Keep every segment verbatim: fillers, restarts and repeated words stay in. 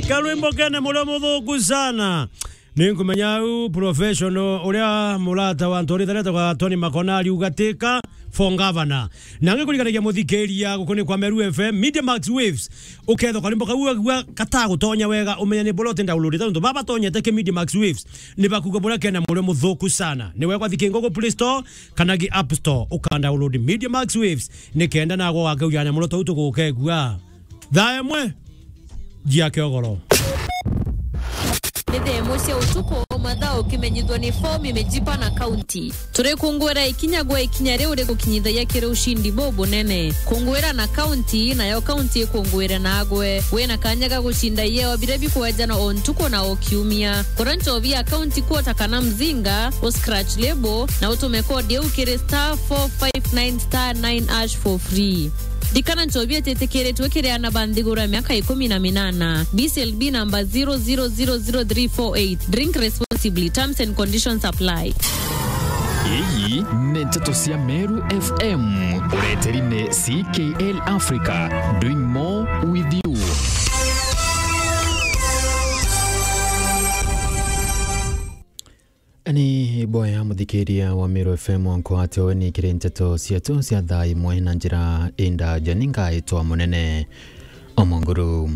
Karwimbo kene murio muthuku sana. Ninkumenya u professional uria murata wa ntori thareta kwa Tony Makona ariuga tika for governor. Na ngikurikanagia muthikiria gukuni kwa Meru F M, Media Max Waves. Ukethwa karimbo kau agua katagutonya wega, umenya ni bora uti download. Tontu baba tonyete ki Media Max Waves, ni bakuga bura kena murio muthuku sana. Ni wekwa thikingo ku Play Store kana ki App Store, uka download Media Max Waves, ni kenda nago wakaujana murio tau tugukegua. Thaa imwe, njia kiogoro. Ni thaa imwe cia utuku, mathaa ukimenyithwa ni fomu imejipa na kaunti. Turi kungwira ikinya gwa ikinya riu rigukinyithagia kiri ushindi bubunene. Kungwira na kaunti, nayo kaunti ikungwire nagwe. Wina kanya ga gucinda ieo biria bikwejanwa o ntuku na o kiumia. Kura nchobi ya kaunti kuota kana mzinga, u scratch label, na utume kodi iu kiri star four five nine star nine hash for free. Ndikana nchobi ititikiritwe kiri ana ba nthiguru ya miaka ikumi na minana. B C L B number zero zero zero zero three four eight. Drink responsibly. Terms and conditions apply. Iyi ni nteto cia Meru F M. Ureteri ni C K L Africa. Doing more with you. Ni boya muthikiria wa Meru F M, nkwate weni kiri nteto cietu cia thaa imwe na njira indaja. Ningaitwa Munene Omonguru.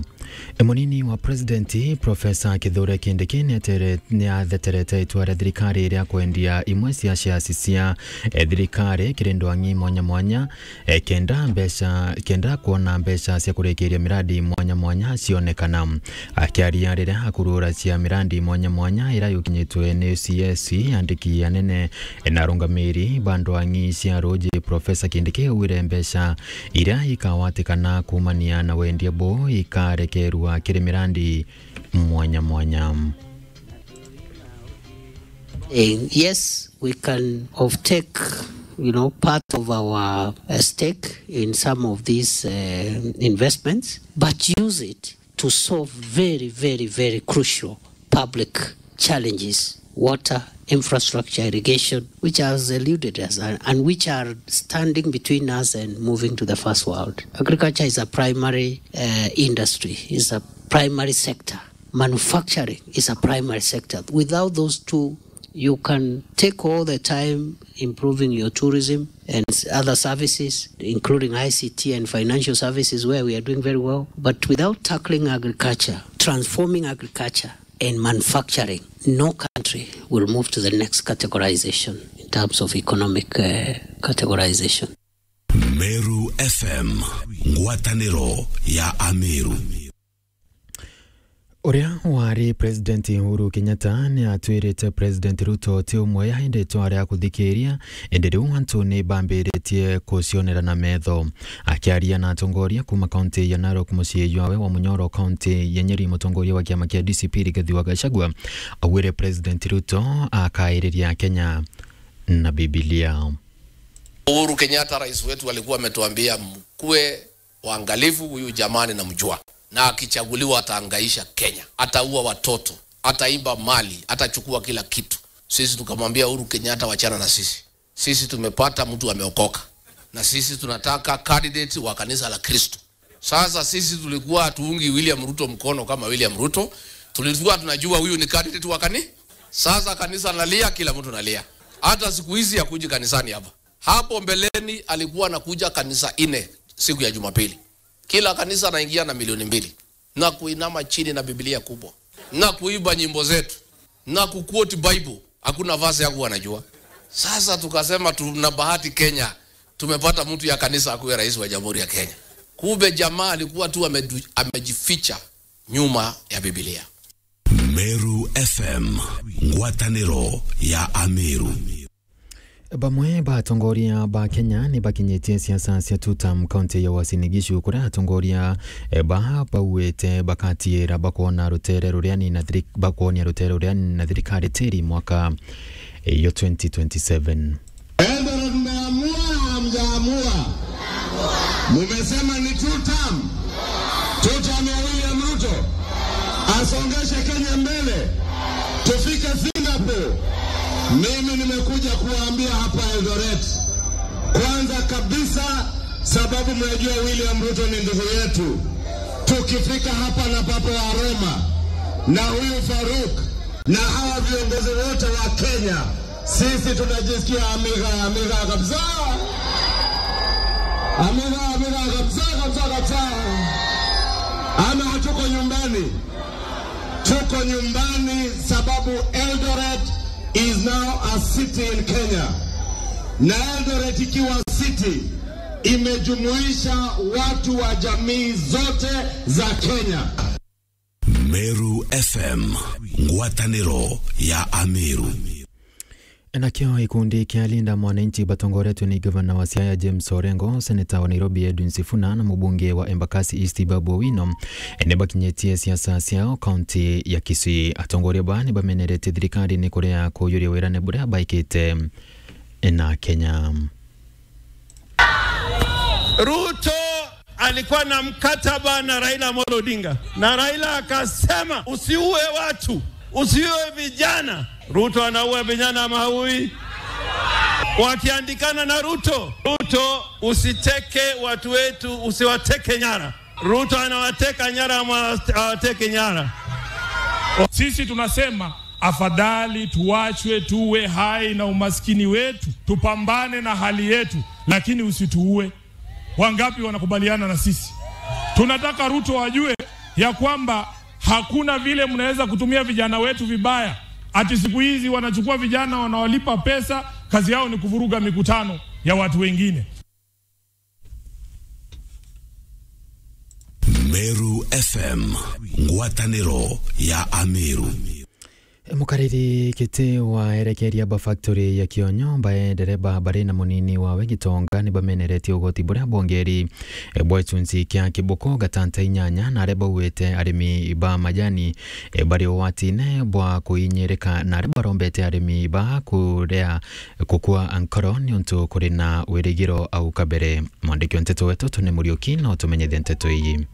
E, munini wa President, Professor Kithure Kindiki, niatere-, niatheterete itua ria thirikari ria kwendia imwe cia shares cia, e, thirikari kiri ndwang'i mwanya mwanya, e, kenda mbeca, kenda kuona mbeca cia kurikiria miradi mwanya mwanya cionekana. Akiaria riria akurura cia miradi mwanya mwanya iria yukinyitwe ni C S, andiki anene na arungamiri ba ndwang'i cia ruji, Professor Kindiki augire mbeca iria ikawatikana kuumania na wendia buu ikarekerua kiri miradi mwanya mwanya. Eh, yes, we can offtake, you know, part of our, uh, stake in some of these, uh, investments, but use it to solve very, very, very crucial public challenges, water, infrastructure, irrigation, which has eluded us and, and which are standing between us and moving to the first world. Agriculture is a primary, uh, industry, is a primary sector. Manufacturing is a primary sector. Without those two, you can take all the time improving your tourism and s-, other services, including I C T and financial services, where we are doing very well. But without tackling agriculture, transforming agriculture and manufacturing, no country will move to the next categorization in terms of economic, uh, categorization. Meru F M, ngwataniro ya Ameru. Uria wari President Uhuru Kenyatta ni atwirite President Ruto ti umwe ya indi twari a kuthikiria, indi riu antu ni bambiritie kucionera na metho. Akiaria na atongoria kuma kaunti ya Narok, mucii jwawe wa Munyoro, kaunti ya Nyeri, mutongoria wa kiama kia D C P Rigathi wa Gachagua augire President Ruto akairiria Kenya na Bibilia. Uhuru Kenyatta, rais wetu, alikuwa ametuambia, "Mkuwe waangalifu, huyu jamaa ninamjua. Na akichaguliwa atahangaisha Kenya, ataua watoto, ataiba mali, atachukua kila kitu." Sisi tukamwambia Uhuru Kenyatta, "Wachana na sisi. Sisi tumepata mtu ameokoka. Na sisi tunataka candidate wa kanisa la Kristo." Sasa sisi tulikuwa hatuungi William Ruto mkono kama William Ruto. Tulikuwa tunajua huyu ni candidate wa kani-, sasa kanisa nalia, kila mtu nalia. Hata siku hizi hakuji kanisani hapa. Hapo mbeleni alikuwa anakuja kanisa nne siku ya Jumapili. Kila kanisa anaingia na milioni mbili. Na kuinama chini na Biblia kubwa. Na kuimba nyimbo zetu. Na kuquote Bible. Hakuna verse yangu anajua. Sasa tukasema tuna bahati Kenya. Tumepata mtu ya kanisa akuwe rais wa Jamhuri ya Kenya. Kumbe jamaa alikuwa tu amedu-, amejificha nyuma ya Biblia. Meru F M, ngwataniro ya Ameru. Bamwe ba atongoria ba Kenya ni bakinyitie siasa cia two term kaunti ya Uasin Gishu, kuria atongoria, eh, ba bauite bakatiira bakwona rutere ruriani na thiri-, bakwonia rutere ruriani na thirikari tiri mwaka, eh, yo twenty twenty-seven. Eldoret, mmeamua, hamjaamua? Mumesema ni two term. Two term ya William Ruto. Asongeshe Kenya mbele. Tufike Singapore. Mimi nimekuja kuwaambia hapa Eldoret. Kwanza kabisa, sababu mnajua William Ruto ni ndugu yetu. Kifika hapa na Papa wa Roma na huyu Faruk na hawa viongozi wote wa Kenya, sisi tunajisikia amiga, amiga kabisa. Amiga, amiga kabisa, kabisa, kabisa. Ama hatuko nyumbani? Tuko nyumbani sababu Eldoret is now a city in Kenya. Na Eldoret ikiwa city, imejumuisha watu wa jamii zote za Kenya. Meru F M, ngwatanĩro ya Ameru. Nakio gikundi kia Linda Mwananchi batongoretwe ni gavana wa Siaya James Orengo, seneta wa Nairobi Edwin Sifuna na mubunge wa Embakasi East Babu Owino ni bakinyitie siasa ciao kaunti ya Kisii. Atongoria ba ni bameneretie thirikari ni kuria kujuria wirane buria baikite na Kenya. Ruto alikuwa na mkataba na Raila Amolo Odinga, na Raila akasema, "Usiue watu, usiue vijana." Ruto anaua vijana ama haui? Wakiandikana na Ruto, "Ruto, usiteke watu wetu, usiwateke nyara." Ruto anawateka nyara ama hawateki nyara? Sisi tunasema afadhali tuachwe tuwe hai na umaskini wetu, tupambane na hali yetu, lakini usituue. Wangapi wanakubaliana na sisi? Tunataka Ruto ajue ya kwamba hakuna vile mnaweza kutumia vijana wetu vibaya, ati siku hizi wanachukua vijana, wanawalipa pesa, kazi yao ni kuvuruga mikutano ya watu wengine. Meru F M, ngwatanĩro ya Ameru. Mukariri kiti wa erekeria ba factory ya Kionyo, bae ndereba bari na munini wawe Gitonga ni bameneretie ugoti buria bwongeri, e, bwa gicunci kia kibuku gatanta inyanya, na aria bauite arimi ba majani, e, bari ugwatine bwa kuinyirika, na aria barombete arimi ba kuria gukua nkoro niuntu kuri na wirigiro au kabere. Mwandiki wa nteto wetu Tony Muriuki na utumenyithia nteto iji.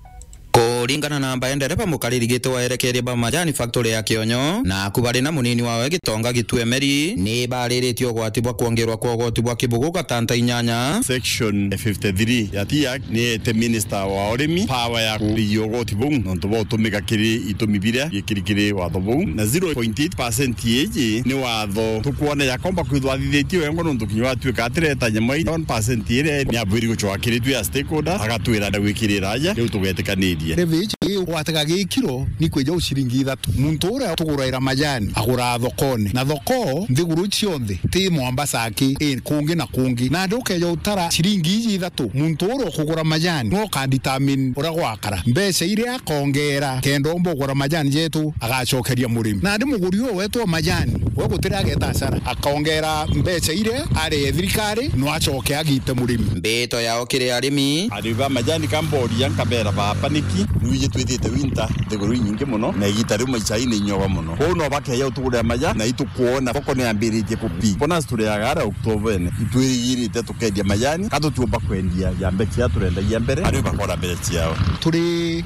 Kuringana na mbae ndereba mukariri giti wa erekeria ba majani factory ya Kionyo, na aku bari na munini wawe Gitonga Gitue Meri, ni bariritie ugwati bwa kwongerwa kwa ugoti bwa kibugu gatanta inyanya. Section fifty-three ya TIAC ni ete minister wa urimi power ya kurigia ugoti buu nontu bwa utumika kiri itumi biria biikiri kiri watho buu, na zero point eight percent iji ni watho tukwona yakomba kwithwa athithitie wengwa nontu kinya watuika atireta nyama ii one percent iria ni abwiri gucoka kiri twi a stakeholders, agatwira na gwikirira aja, riu tugetikaniria. Levy iji igwataga gikiro ni kwija u ciringi ithatu. Muntu uria tuguraira majani aguraa thokone, na thoko nthiguru cionthe ti Mombasa aki, i kungi na kungi. Nandi ukeja utara ciringi iji ithatu, muntu uria ukugura majani no ukadetermine uria gwakara. Mbeca iria akongera kenda omba ugura majani jetu, agacokeria murimi. Nandi muguri uyu wetu wa majani, we gutiri ageta hasara, akongera mbeca iria aree thirikari, no acoke agite murimi. Mbito yao kiri arimi. Arimi ba majani kamboria nkabera baba niki, riu iji twithite winter nthiguru inyingi muno, na igita riu maisha ni inyoga muno. Kwou no bakeja utugurira majani, na itukwona thoko ni yambiritie kupi. Bonus turiaga ara Oktoba-ene. Itwirigirite tukendia majani, ka tutiumba kwendia ja mbeca iria turendagia mbere, arimi bakona mbeca ciao. Turi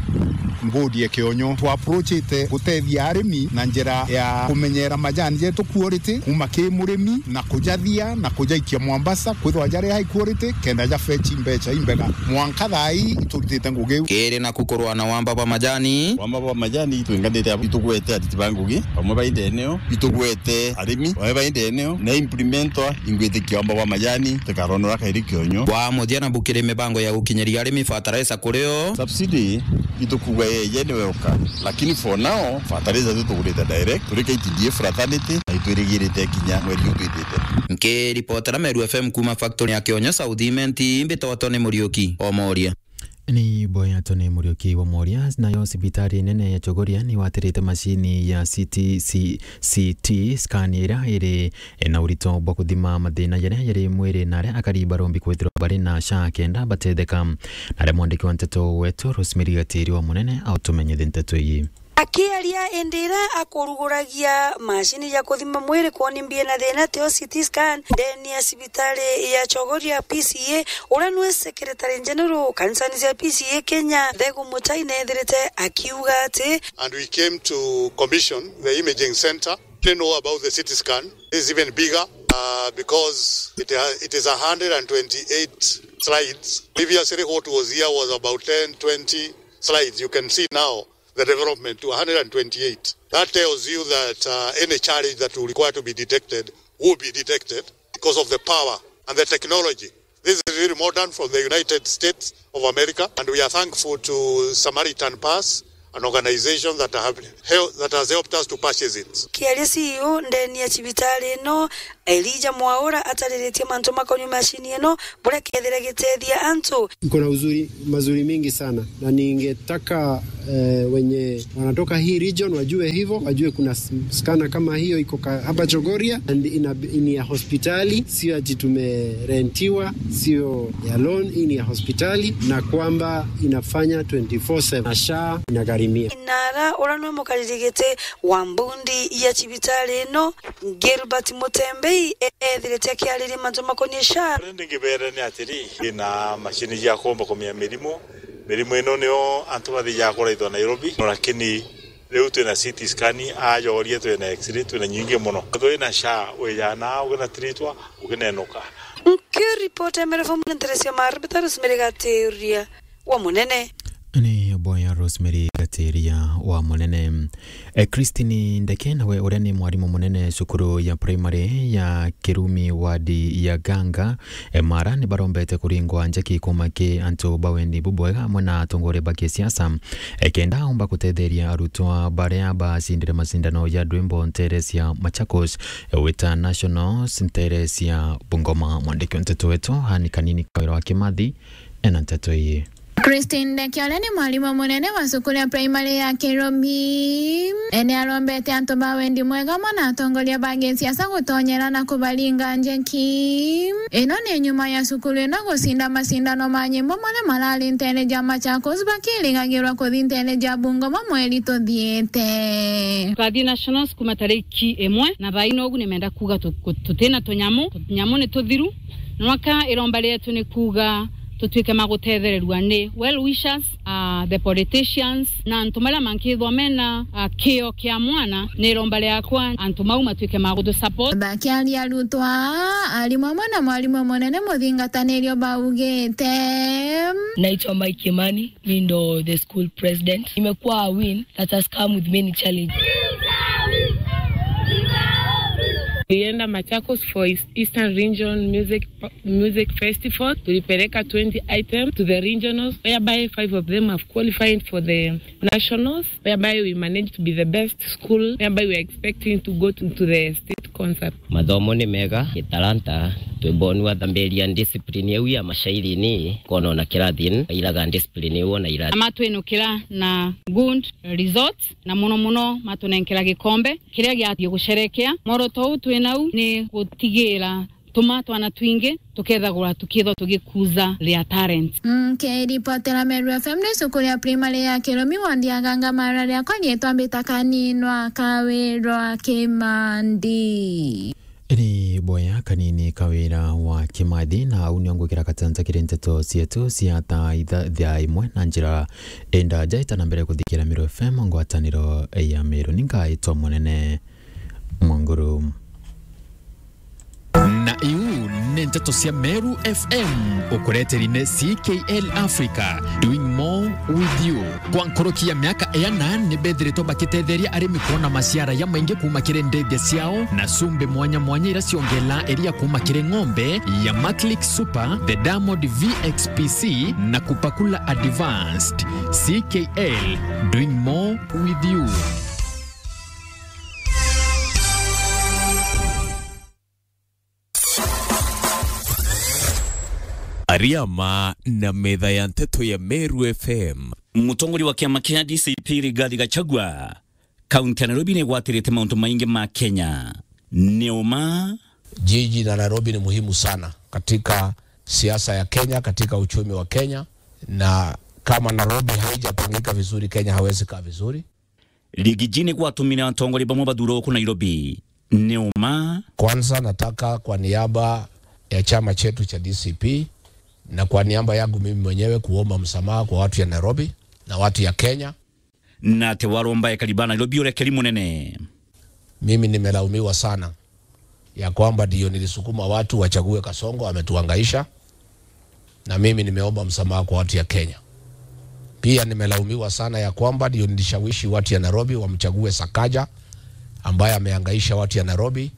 mbodi ya Kionyo, twa approachite gutethia arimi na njira ya kumenyera majani jetu quality, kuma ki murimi na kujathia na kujaikia Mombasa, kwithwa jari high quality, kenda ja fetch mbeca imbega. Mwanka thaa ii iturutite ngugi iu. Kiri naku kurwa na wamba bwa majani. Wamba bwa majani itwinganite abo, itugwete ariti ba ngugi, bamwe ba indene o, itugwete arimi, bamwe ba indene o, na implementer ingwitikia wamba bwa majani, tikaronora kairi Kionyo. Bwa muthia na bukiri mibango ya gukinyiria arimi fertilizer kuri o. Subsidy itukuga yeje ni welcome, lakini for now, fertilizer tu tugurite direct, turi K T D A fraternity, na itwirigirite kinya mweri uyu twithite. Nkiripotera Meru F M kuma factory ya Kionyo South Imenti, mbitoto ni Muriuki Omoria. Ni mboya Tony Muriuki wa Moria. Nayo cibitari nene ya Chogoria ni watirite macini ya C T, C-, C T scan iria iri na urito bwa kuthima mathina jaria jari mwiri na aria akari barombi kwithirwa bari na sha kenda batetheka. Na aria mwandiki wa nteto wetu Rosemary Gatiri wa Munene autumenyithie nteto ii. Akiaria indi iria akuruguragia macini ya kuthima mwiri kwoni mbie na thina tio C T scan ndeni ya cibitari ya Chogoria P C A, uria nwe Secretary General kanisani cia P C A Kenya, Thegu Mutai, nethirite akiuga ati, And we came to commission the imaging center. They know about the C T scan. This is even bigger, uh, because it ha-, it is a hundred and twenty-eight slides. Previously, what was here was about ten, twenty, slides, you can see now the development to a hundred and twenty-eight. That tells you that, uh, any challenge that will require to be detected will be detected because of the power and the technology. This is really modern from the United States of America, and we are thankful to Samaritan Purse, an organization that have hel-, that has helped us to purchase it. Kiaria C E O ndeni ya cibitari ino, Elijah Mwaura atariritie mantu makonie macini ino, buria kethira gitethia antu. Kuna uzuri, mazuri mingi sana, na ningetaka, eh, wenye wanatoka hii region wajue hivyo, wajue kuna s-, scanner kama hiyo iko ka-, hapa Chogoria, and ina, ni ya hospitali, sio ati tumerentiwa, sio ya loan, hii ni ya hospitali, na kwamba inafanya twenty-four seven, na SHA inagharimia. Inara, uria niwe mukariri giti wa mbundi ya cibitari ino, Gilbert Mutembei, e-, ethirite akiariria mantu makonie SHA. Uria ndingibere ni atiri, ina macini cia kuumba kumenya mirimu. Mirimu ino nio antu bathijaga kuraithwa Nairobi, no lakini riu twina C T scan, ajoria twina X-ray, twina nyingi mono. Twina SHA, wijana, ukinatiritwa, ukinenuka. Nkiripota Meru F M ni Teresia Marbita, Rosemary Gatiria wa Munene. Ni boya Rosemary Gatiria wa Munene. E, Christine Ndeke nawe uria ni mwarimu munene cukuru ya primary ya Kirumi wadi ya Ganga, e, Mara, ni barombete kuringwa njeki kuuma ki antu ba wendi bubwega amwe na atongoria ba kisiasa, e, kenda aumba gutetheria arutwa baria bacindire macindano ya rwimbo ntere cia Machakos, e, wita Nationals ntere cia Bungoma. Mwandiki wa nteto wetu Anne Kanini Kawira wa Kimathi ena nteto ii. Christine Ndeke, uria ni mwarimu munene wa cukuru ya primary ya Kiromi, e, ni arombete antu ba wendi mwega amwe na atongoria ba gisiasa gutonyera na kubaringa njeki. Ino ni nyuma ya cukuru ino gucinda macindano ma nyimbo maria marari ntere ja Machakos bakirigagirwa kuthi ntere ja Bungoma mweri tuthiite. Twathii Nationals kuma tariki imwe, na thaino ugu nimenda kuuga tu-, ku-, tutina tunyamu, tunyamu ni tuthiru. Nwaka iromba rietu ni kuuga tutwike ma gutethererua ni well wishers, ah, the politicians, na antu maria mankithwa mena, ah, kio kia mwana. Ni iromba riakwa antu mau matwike ma gutu support. Bakiaria arutwa, arimu amwe na mwarimu munene muthingatanirio baugite. Naitwa Mike Kimani. Mi ndo the school president. Imekuwa a win that has come with many challenges. Tulienda Machakos for East-, Eastern Region Music, Music Festival. Tulipeleka twenty items to the regionals, whereby five of them have qualified for the nationals, whereby we managed to be the best school, whereby we are expecting to go to, to the state concert. Mathomo ni mega, gitalanta, twibonua thambiria discipline iu ya mashairi ni, kona ona kirathi, iraga discipline iu ona irathi. Na matwinukira na good results, na muno muno matunenkera gikombe kiria giathii gusherekea. Mworoto uu twi nau ni gutigira tuma twana twingi tukethagwa tukithwa tugikuza their talent. Nkiripotera Meru F M ni cukuru ya primary ya Kiromi, wandi ya Ganga, Mara, riakwa rietwa Mbita Kaninwa Kawirwa Kimandi. Ni boya Kanini Kawira wa Kimathi, na au nio ngwikira gatanta kiri nteto cietu cia thaa itha-, thaa imwe na njira indaja itana mbere kuthikira Meru F M, ngwataniro ya Meru. Ni ngaitwa Munene Mwanguru. Na iu ni nteto cia Meru F M, ukureteri ni C K L Africa, doing more with you. Kwa nkuruki ya miaka iana, ni bethiritwe bakitetheria arimi kwona maciara jamaingi kuuma kiri ndithia ciao, na cumbi mwanya mwanya iria ciongelaa iria kuuma kiri ng'ombe ya Maclick Super, the Diamond V X P C, na Kupakula Advanced. C K L, doing more with you. Ariama na metha ya nteto ya Meru F M. Mutongoria wa kiama kia D C P Rigathi Gachagua, kaunti ya Nairobi ni igwatirite mauntu maingi ma Kenya. Ni uma. Jiji la Nairobi ni muhimu sana katika siasa ya Kenya, katika uchumi wa Kenya, na kama Nairobi haijapangika vizuri, Kenya hawezi kaa vizuri. Rigiji ni gwatumire atongoria bamwe bathurwa guku Nairobi. Ni uma. Kwanza nataka kwa niaba ya chama chetu cha D C P na kwa niaba yangu mimi mwenyewe kuomba msamaha kwa watu ya Nairobi na watu ya Kenya. Na ati waromba ekari ba Nairobi urekeri munene. Mimi nimelaumiwa sana ya kwamba ndio nilisukuma watu wachague Kasongo, ametuhangaisha. Na mimi nimeomba msamaha kwa watu ya Kenya. Pia nimelaumiwa sana ya kwamba ndio nilishawishi watu ya Nairobi wamchague Sakaja, ambaye amehangaisha watu ya Nairobi.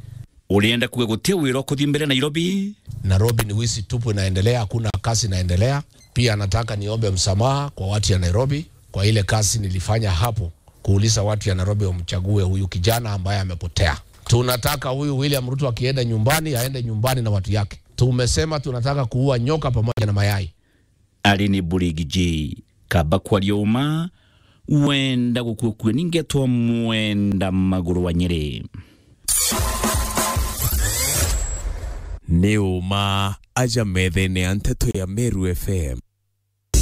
Urienda kuga guti wira ukuthi mbere Nairobi? Nairobi ni wizi tupu inaendelea, hakuna kazi inaendelea. Pia nataka niombe msamaha kwa watu ya Nairobi kwa ile kazi nilifanya hapo, kuuliza watu ya Nairobi wamchague huyu kijana ambaye amepotea. Tunataka huyu William Ruto akienda nyumbani, aende nyumbani na watu yake. Tumesema tunataka kuua nyoka pamoja na mayai. Ari ni Burigi J. Kaba kwaria uma, wenda gukua kua ningetwa mwenda maguru wa Nyeri. Ni uma aja methene ya nteto ya Meru F M.